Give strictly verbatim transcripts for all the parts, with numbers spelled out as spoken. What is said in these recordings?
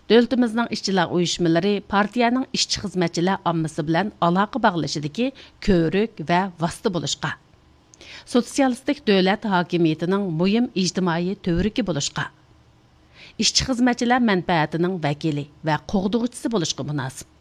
دۆلىتىمىزنىڭ ئىشچىلار ئۇيۇشمىلىرى پارتىيەنىڭ ئىشچى-خىزمەتچىلەر ئاممىسى بىلەن ئالاقە باغلىشىدىكى كۆۋرۈك ۋە ۋاسىتە بولۇشقا، سوتسىيالىستىك دۆلەت ھاكىمىيىتىنىڭ مۇھىم ئىجتىمائىي تۈۋرۈكى بولۇشقا، ئىشچى-خىزمەتچىلەر مەنپەئەتىنىڭ ۋەكىلى ۋە قوغدىغۇچىسى بولۇشقا مۇناسىپ.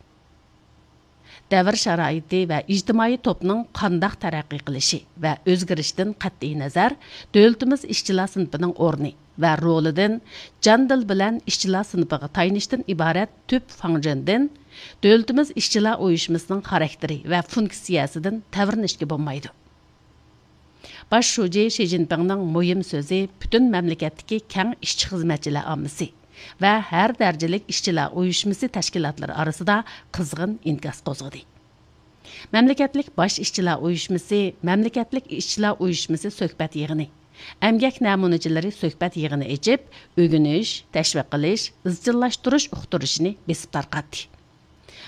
دەۋر شارائىتى ۋە ئىجتىمائىي توپنىڭ قانداق تەرەققىي قىلىشى ۋە ئۆزگىرىشىدىن قەتئىينەزەر، دۆلىتىمىز ئىشچىلار سىنىپىنىڭ ئورنى ۋە رولىدىن، جان-دىل بىلەن ئىشچىلار سىنىپىغا تايىنىشتىن ئىبارەت تۈپ فاڭجېندىن، دۆلىتىمىز ئىشچىلار ئۇيۇشمىسىنىڭ خاراكتېرى ۋە فۇنكسىيەسىدىن تەۋرىنىشكە بولمايدۇ. باش شۇجى شى جىنپىڭنىڭ مۇھىم سۆزى پۈتۈن مەملىكەتتىكى كەڭ ئىشچى-خىزمەتچىلەر ئاممىسى ۋە ھەر دەرىجىلىك ئىشچىلار ئۇيۇشمىسى تەشكىلاتلىرى ئارىسىدا قىزغىن ئىنكاس قوزغىدى. مەملىكەتلىك باش ئىشچىلار ئۇيۇشمىسى، مەملىكەتلىك ئىشچىلار ئۇيۇشمىسى سۆھبەت يىغىنى، ئەمگەك نەمۇنىچىلىرى سۆھبەت يىغىنى ئېچىپ، ئۆگىنىش، تەشۋىق قىلىش، ئىزچىللاشتۇرۇش ئۇقتۇرۇشىنى بېسىپ تارقاتتى.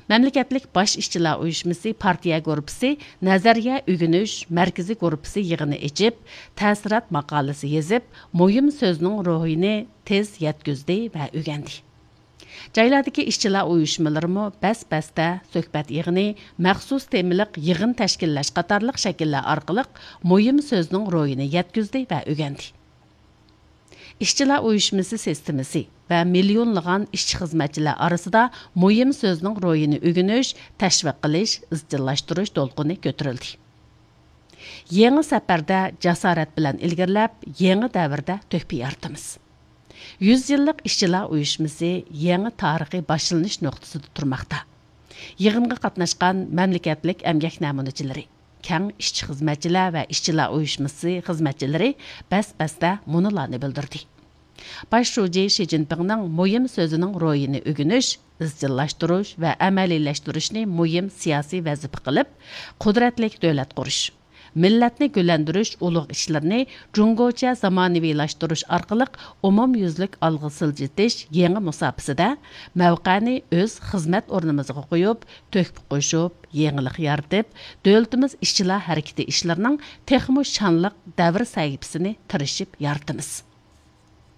مەملىكەتلىك باش ئىشچىلار ئۇيۇشمىسى پارتىيە گۇرۇپپىسى نەزەرىيە ئۆگىنىش مەركىزىي گۇرۇپپىسى يىغىنى ئېچىپ، تەسىرات ماقالىسى يېزىپ، مۇھىم سۆزنىڭ روھىنى تېز يەتكۈزدى ۋە ئۆگەندى. جايلاردىكى ئىشچىلار ئۇيۇشمىلىرىمۇ بەس-بەستە سۆھبەت يىغىنى، مەخسۇس تېمىلىق يىغىن تەشكىللەش قاتارلىق شەكىللەر ئارقىلىق مۇھىم سۆزنىڭ روھىنى يەتكۈزدى ۋە ئۆگەندى. ئىشچىلار ئۇيۇشمىسى سىستېمىسى ۋە مىليونلىغان ئىشچى-خىزمەتچىلەر ئارىسىدا مۇھىم سۆزنىڭ روھىنى ئۆگىنىش، تەشۋىق قىلىش، ئىزچىللاشتۇرۇش دولقۇنى كۆتۈرۈلدى. يېڭى سەپەردە جاسارەت بىلەن ئىلگىرىلەپ، يېڭى دەۋردە تۆھپە يارىتىمىز. يۈز يىللىق ئىشچىلار ئۇيۇشمىسى يېڭى تارىخىي باشلىنىش نۇقتىسىدا تۇرماقتا. يىغىنغا قاتناشقان مەملىكەتلىك ئەمگەك نەمۇنىچىلىرى، كەڭ ئىشچى-خىزمەتچىلەر ۋە ئىشچىلار ئۇيۇشمىسى خىزمەتچىلىرى بەس-بەستە مۇنۇلارنى بىلدۈردى. باش شۇجى شى جىنپىڭنىڭ مۇھىم سۆزىنىڭ روھىنى ئۆگىنىش، ئىزچىللاشتۇرۇش ۋە ئەمەلىيلەشتۈرۈشنى مۇھىم سىياسىي ۋەزىپە قىلىپ، قۇدرەتلىك دۆلەت قۇرۇش، مىللەتنى گۈللەندۈرۈش ئۇلۇغ ئىشلىرىنى جۇڭگوچە زامانىۋىلاشتۇرۇش ئارقىلىق ئومۇميۈزلۈك ئالغا سىلجىتىش يېڭى مۇساپىسىدە مەۋقەنى ئۆز خىزمەت ئورنىمىزغا قويۇپ، تۆھپە قوشۇپ، يېڭىلىق يارىتىپ، دۆلىتىمىز ئىشچىلار ھەرىكىتى ئىشلىرىنىڭ تېخىمۇ شانلىق دەۋر سەھىپىسىنى تىرىشىپ يارىتىمىز.